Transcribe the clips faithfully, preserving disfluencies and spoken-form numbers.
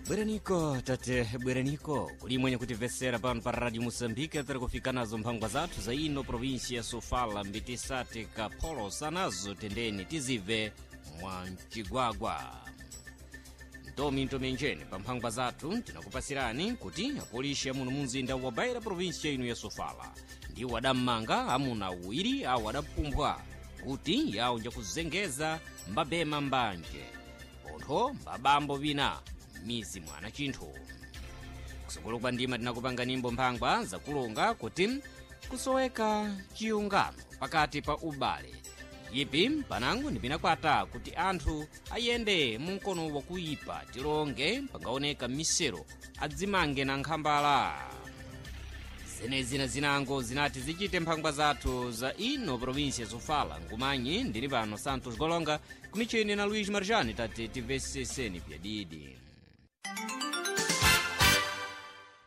Bweraniko tate, bweraniko kuli mwenye kutimvetsera pano pa Radio Moçambique. Tiri kufika nazo mphangwa zathu za ino provinsia ya Sofala, mbitisati kapholosa nazo tendeni tizive mwa mcigwagwa ntomi ntomenjeni. Pa mphangwa zathu tinakupasirani kuti apolisi amuno mumzinda wa Beira, provinsia ino ya Sofala, ndiwo adammanga amuna awiri awo adapumphwa kuti yawo njakuzengeza mbabema mbanje pontho mbabambo vina mizi mwana chinthu. Kusukulu kwa ndima tinakupanga nimbo mphangwa zakulunga kuti kusoweka chiyungano pakati pa ubale yipi panango ndipinakwata kuti anthu ayende munkono wakuyipa tilonge pangaoneka misero adzimange na nkhambala. Zenezi na zinango zinati zichite mphangwa zathu za ino provinsia Sofala. Ngumanyi ndili pano Santos Golonga, kumicheni na Luiz Marjani. Tati timveseseni pyadidi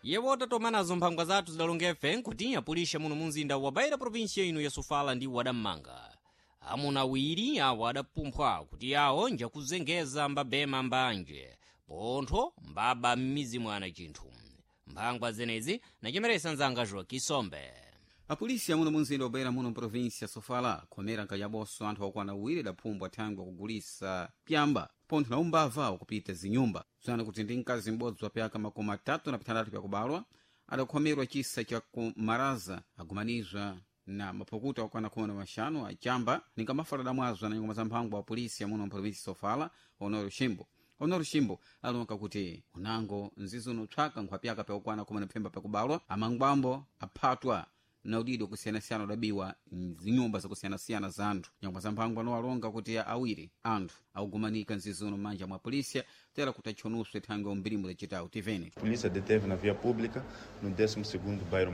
yewo tatoma nazo mphangwa zathu zidalongefe nkuti apulisha muno mumzinda wa Beira, provinsia ino ya Sofala, ndi wadammanga amuna awiri awo adapumphwa kuti yawo njakuzengeza mbabema mbanje pontho mbaba m'mizi mwana chinthu. Mphangwa zenezi nachemeresa nzanga Joakisombe. Apolisi amuno munzinda wa Beira muno mprovinsia Sofala akhomera nkayaboso anthu okwana awiri adaphumbwa thangwi wakugulisa pyamba pontho na umbava wakupita zinyumba zana kuti ndi mkazi m'bodzi wa pyaka makumi atatu na pitandatu pyakubalwa adakhomerwa chisa cha kumaraza agumanizwa na mapukuta okwana khumi na maxanu achamba ninga mafala adamwazwa na nyongoma za mphangwa wa polisi amuno mprovinsi Sofala, Honoro Shimbo. Honoro Shimbo alonka kuti unango nzizi unotchwaka nkhwapyaka pyakukwana khumi na phemba pyakubalwa amangwambo aphatwa na udidi wakusiyanasiyana udabiwa mzinyumba zakusiyanasiyana za anthu. Nyongoma za mphangwa nowalonga kuti awiri anthu akugumanika nzizi uno m'manja mwa polisia tera kuti atchonuswe thangwi umbirimu lacitawu. Tivene. A polícia deteve na via pública, no décimo segundo bairro